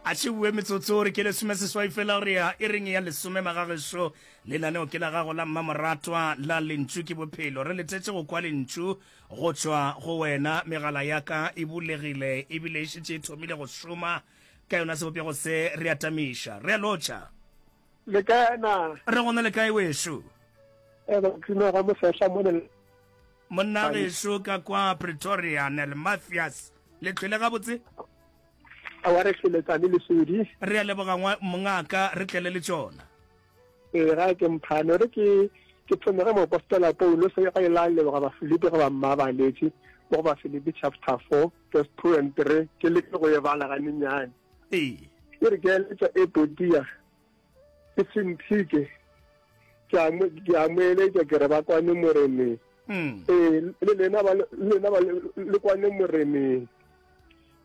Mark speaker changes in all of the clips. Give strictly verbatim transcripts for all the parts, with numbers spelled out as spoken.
Speaker 1: A tšeue metsotso re ke lesome seswai fela re ya e reng ya lesome magagešo. Lenaneo ke la gago la mmamoratwa la Lentšu ke Bophelo. Re letetše go kwa lentšu go tšwa go wena. Megala ya ka e bulegile ebile e šetše e thomile go šoma ka yona sebopego se re atamiša. Re a lotšha.
Speaker 2: Le kae na?
Speaker 1: Re gona le kae wešo?
Speaker 2: E ba tsima ga mosehla mone.
Speaker 1: Monna gešo ka kwa Pretoria, Nel Mathias. Le tlhwele gabotse?
Speaker 2: Awa re hlwele tsane lesodi.
Speaker 1: Re a leboga mongaka, re tlele le tšona.
Speaker 2: Ee, ga ke mphane re ke ke thome ge moapostola Paulo se ga ile a leboga Bafilipi ge ba mmabaletše mo go Bafilipi chapter four verse two and three, ke leke go e bala ganyenyane.
Speaker 1: Ee.
Speaker 2: E re ke eletša Epodia ke Sintike, ke a mo, ke a mo eletša ke re ba kwane Moreneng.
Speaker 1: Mm.
Speaker 2: Ee, le lena ba le lena ba le kwane Moreneng.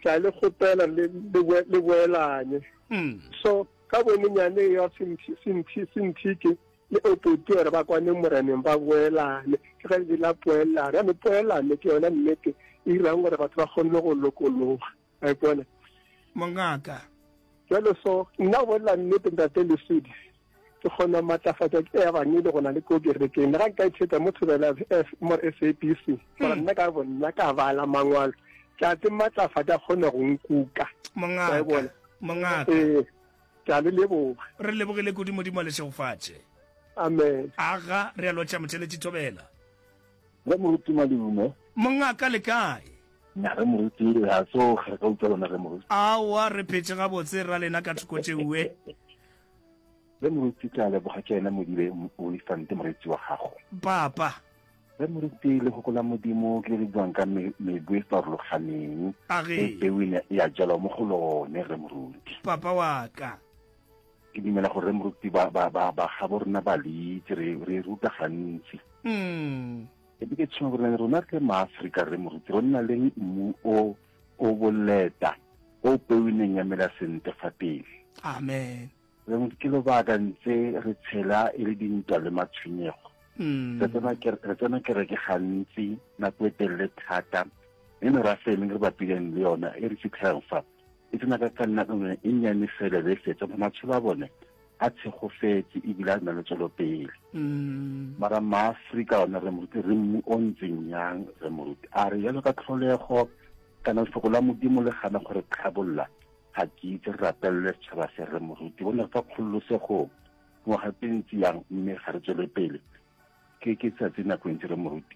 Speaker 2: Ke a le kgopela le le le boelanye.
Speaker 1: Mm.
Speaker 2: So ka bonyenyane ya Sintike le Epodia gore ba kwane Moreneng ba boelane. Ke ge le la poelano. Ya poelano ke yona nnete e dirang gore batho ba kgone go lokologa. A ipona?
Speaker 1: Mongaka.
Speaker 2: Jalo so nna bolela nnete ntate Lesodi, ke kgona matlafatša ke ebangedi go na le ko kerekeng. Le ga nka itsheta mo Thobela F mo S A B C, gore nna ka bonna ka bala mangwalo, ke a tse matlafatša kgone go nkuka.
Speaker 1: Mongaka. Mongaka.
Speaker 2: Ee, ke a le leboga.
Speaker 1: Re lebogile kudu, Modimo a le šegofatše.
Speaker 2: Amen.
Speaker 1: Aga, re a lotša motheletši Thobela.
Speaker 3: Re moruti Madume.
Speaker 1: Mongaka le kae?
Speaker 3: Nya re moruti, re a tsoga, re ka utlwa lona re moruti.
Speaker 1: Aowa, re phetše gabotse ra lena ka thoko tšeue.
Speaker 3: Re moruti, ke a leboga, ke ena Modibe Olifante moreetsi wa gago.
Speaker 1: Papa.
Speaker 3: Re moruti, lehoko la Modimo ke le le buang ka mebu e farologaneng.
Speaker 1: Age.
Speaker 3: E peu e ya jalwa mo go lone re moruti.
Speaker 1: Papa wa ka.
Speaker 3: Ke dumela gore re moruti ba ba ba ba gabo rena ba le itse, re re ruta gantsi.
Speaker 1: Mm.
Speaker 3: E be ke tshwana gore rona re maAfrika re moruti, re nna le mmu o o boleta, o peu e neng ya mela sentle fa pele.
Speaker 1: Amen.
Speaker 3: Re moruti, ke lobaka ntse re tshela e le dintwa le matshwenyego.
Speaker 1: Mm.
Speaker 3: Re tsena ke, re tsena kereke gantsi nako e telele thata, mme merafe e mengwe re bapileng le yona e re fitlhelang fa e tsena ka ka nna e nnyane fela be e fetsa, matshelo a bone a tshegofetse ebile a na le tswelopele.
Speaker 1: Mm.
Speaker 3: Mara maAfrika ona re moruti, re mmu o ntseng yang re moruti, a re jalo ka tlholego kana lefoko la Modimo le gana gore tlhabolla, ga ke itse re rapelele setšhaba se re moruti, bone fa kgololosegong ngwaga tse ntsi yang mme ga re tswele pele. Ke ke tsatsi nako e ntsi re moruti,